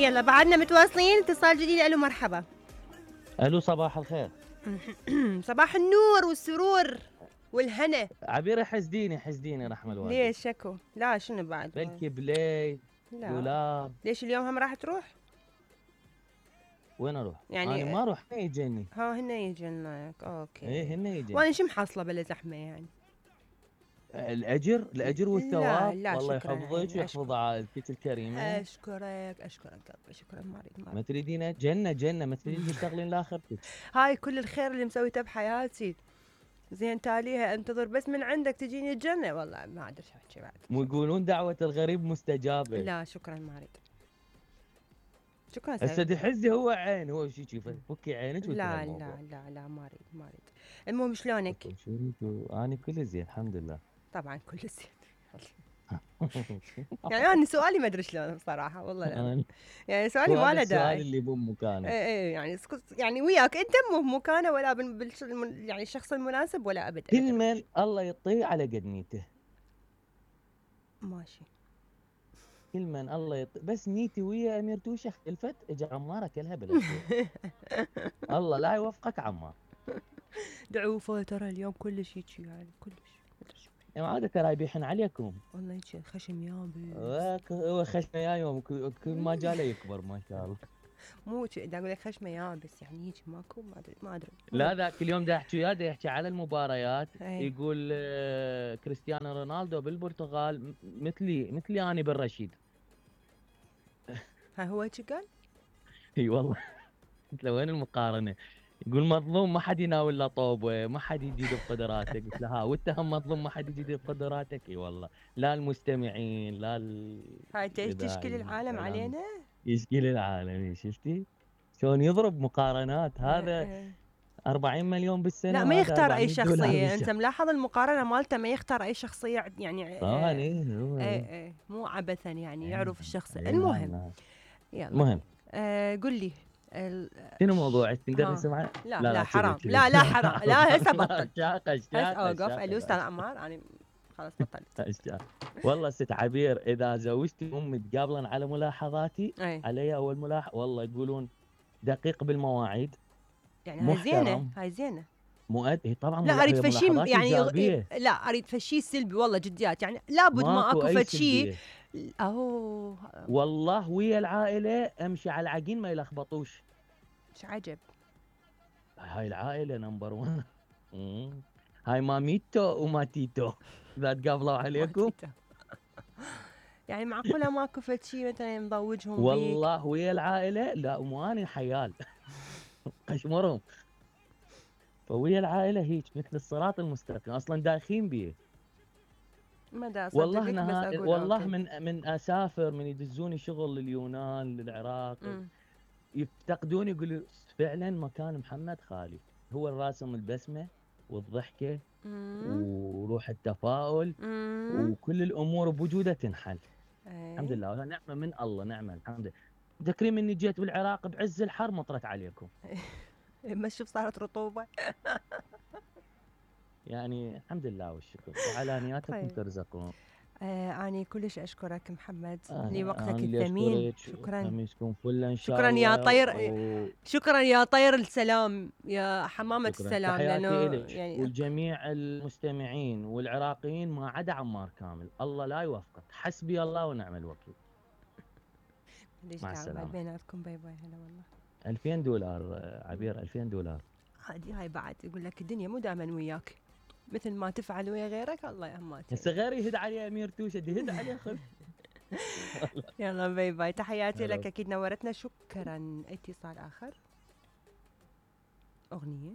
يلا بعدنا متواصلين. اتصال جديد. الو مرحبا. الو صباح الخير. صباح النور والسرور والهنا. عبير حسديني رحم الوالدين. ليش شكو؟ لا شنو بعد؟ بلكي بلاي دولار. ليش اليوم هم راح تروح؟ وين اروح؟ يعني انا ما اروح، هن يجيني. هن يجينك. اوكي. ايه هن يجيني. وانا شو محصله بلا زحمه يعني؟ الاجر والثواب. لا والله شكراً يحفظك ويحفظ عائلتك الكريمه. اشكرك قلبي، شكرا. ما اريد ما تريدين جنه ما تريدين تشتغلين لاخرتك. هاي كل الخير اللي مسويته بحياتي، زين تاليها انتظر بس من عندك تجيني الجنه. والله ما ادري شو احكي بعد. مو يقولون دعوه الغريب مستجابه. لا شكرا ما اريد. شكرا. هسه دحزي هو عين، هو شي فكي عينك. لا ما اريد. المهم شلونك؟ انا كل زين الحمد لله. طبعا كل زين. يعني انا سؤالي ما ادري شلون بصراحه والله لا. يعني سؤالي ما له داعي. السؤال اللي بمكانه. ايه يعني وياك انت مو بمكانه ولا يعني الشخص المناسب ولا ابدا. كل من الله يعطيه على قد نيته. ماشي. كل من الله يعطيه، بس نيتي ويا امير توشه اختلفت، اجى عمار اكلها بلا الله لا يوفقك عمار. دعوفه ترى اليوم كلش هيك يعني كلش. عادة ترى يبيحن عليكم. والله هيك خشم يابس. هو خشمه يا يوم كل ما جاله يكبر ما شاء الله. مو دا اقول لك خشمه يابس يعني هيك ماكو ما ادري. لا ذاك اليوم دا احكي وياه، دا يحكي على المباريات. يقول كريستيانو رونالدو بالبرتغال مثلي انا بالرشيد. ها هو هيك قال؟ اي والله. قلت له وين المقارنه؟ يقول مظلوم ما حد يناول له طوبه، ما حد يجيد بقدراتك. قلت له ها وانت هم مظلوم ما حد يجيد بقدراتك. اي والله لا المستمعين لا هاي تشكيل العالم علينا. يشكيل العالم. شفتي شلون يضرب مقارنات؟ هذا 40 مليون بالسنه. لا ما يختار اي شخصيه. انت ملاحظ المقارنه مالته ما يختار اي شخصيه يعني. طبعا ايه مو عبثا يعني يعرف الشخص. المهم يلا المهم قل لي شنو موضوعك؟ تقدر نسمع؟ لا حرام. لا حرام. لا هسه بطل. اوقف. الاستاذ عمار انا خلاص بطلت. والله ست عبير اذا زوجتي امي تقابلن على ملاحظاتي علي اول ملاحظه والله يقولون دقيق بالمواعيد. يعني هاي زينه مؤدي طبعا. لا اريد فشي يعني لا اريد فشي سلبي والله جديات يعني لابد ما اكو فشي. والله ويا العائله امشي على العجين ما يلخبطوش. ايش عجب. هاي العائله نمبر 1. هاي ماميتو وماتيتو اذا تقابلوا عليكم. يعني معقوله ماكو فشي مثلا مضوجهم بيك؟ والله ويا العائله. لا مو انا حيال اشمرهم. فويا العائله هيك مثل الصراط المستقيم اصلا دايخين بيه. والله من اسافر من يدزوني شغل لليونان للعراق يفتقدون يقولوا فعلا مكان محمد خالي. هو الراسم البسمه والضحكه وروح التفاؤل وكل الامور بوجوده تنحل. الحمد لله نعمه من الله. نعمه الحمد لله. تذكرين اني جيت بالعراق بعز الحر مطرت عليكم. ما شوف صارت رطوبه. يعني الحمد لله والشكر وعلى نياتكم ترزقون. أنا كلش أشكرك محمد لوقتك الثمين. شكرا. شكرا يا طير. شكرا يا طير السلام يا حمامة السلام. تحياتي يعني والجميع المستمعين والعراقيين ما عدا عمار كامل. الله لا يوفقك. حسبي الله ونعم الوكيل. مع السلامة. بيناتكم باي باي. هلا والله. 2000 دولار عبير. 2000 دولار. هاي بعد يقول لك الدنيا مو دائما وياك مثل ما تفعل ويا غيرك. الله يهمك. هسه غيري يهد عليه امير توشه يهد عليه خذ. يلا باي باي. تحياتي لك اكيد نورتنا. شكرا. اتصال اخر. اغنيه.